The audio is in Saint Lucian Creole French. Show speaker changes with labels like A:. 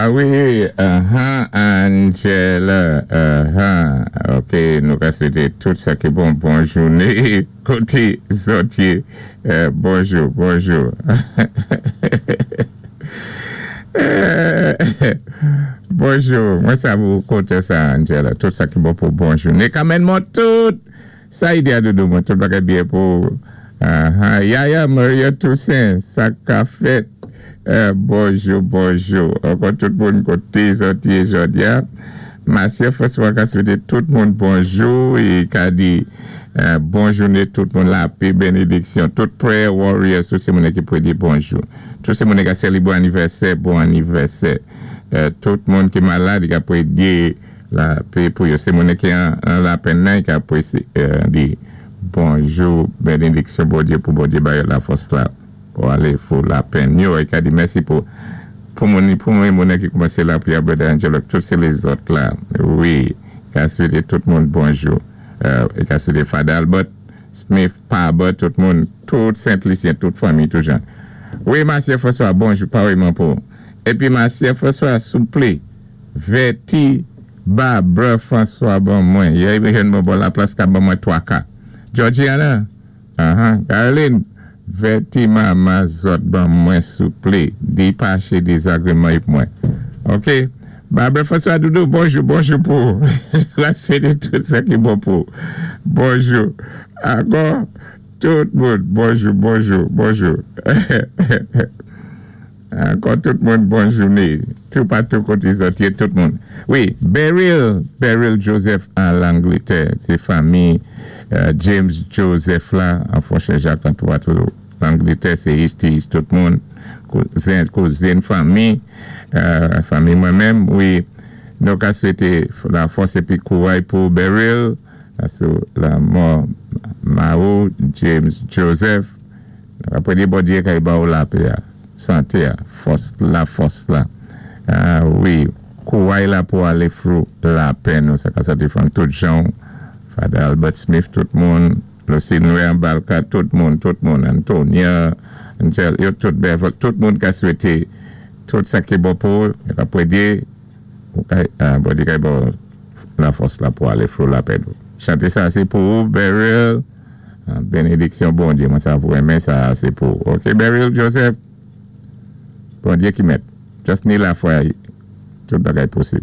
A: A wi, aha, Angela, aha, ok, nou ka swété tout sa ki bon, bon jouné, koté zòt yé, bonjou, bonjou. Bonjou, mwen sav ou kontan sa, Angela, tout sa ki bon pou bon jouné. Kamèn mò tout! Sa Idea doudou mwen, tout bagay byen pou ou? Aha, Yaya Maria Toussaint, sa ka fèt? Bonjou, bonjou. Ankò tout moun koté zòt yé jòdi-a. Masè François ka swété tout moun bonjou e ka di bon jouné tout moun lapé, benediksyon. Tout prayer warriors, tout sé moune ki pwé di bonjou. Tout sé moune ka sèlibré anivèsè, bon anivèsè. Tout moun ki malad ka pwé di lapé pou yo. Sé moune ki an lapenn nan ka pwé di bonjou, benediksyon Bondyé pou Bondyé ba yo lafòs la. Pou alé fou lapenn yo e ka di mèsi pou pou moun pou mwen moune ki koumansé lapriyè brother Angelo ak tout se lézòt la wi ka swete tout moun bonjou e ka swete Father Albert Smith Pabert tout moun tout Sent Lisyen tout fanmi tout jan wi Masyè François bonjou pareman pou epi Masyè François souplé vèti Barbara François ban mwen yè jèn bon bò laplas ka ban mwen 3 ka Georgiana. Aha Garlene vèti mama zòt ban mwen souple di pache dezagreman yp mwen ok Barbara François doudou bonjou bonjou pou ou la swete tout sa ki bon pou ou bonjou ankò tout moun bonjou bonjou bonjou. Ankò tout moun bon joune tou patou kote zòt ye tout moun wi Beryl Beryl Joseph an Langletè se fanmi James Joseph la an Fonchè Jak an toupatou Langletè se HTH tout moun kouzen kouzin fanmi fanmi mwen menm wi nou ka swete lafòs epi kouray pou Beryl sou lanmò Mao James Joseph. Nap prye Bondye kay ba ou lapè a, sante a, fòs la fòs la wi kouray la pou ale through lapè nou sa ka sòti from tout janw Father Albert Smith tout moun Lucinue Anbalka tout moun tout moun Antonia Angel yo tout Beverly tout moun ka swete tout sa ki bon pou ou yo ka prye ou kay Bondye kay ba ou la fòs la pou ale through lapè nou chante sa se pou ou Beryl. Benediksyon Bondye mwen sa pou renmen sa se pou ok Beryl Joseph Bondye ki mèt just ni lafwa tout bagay posib.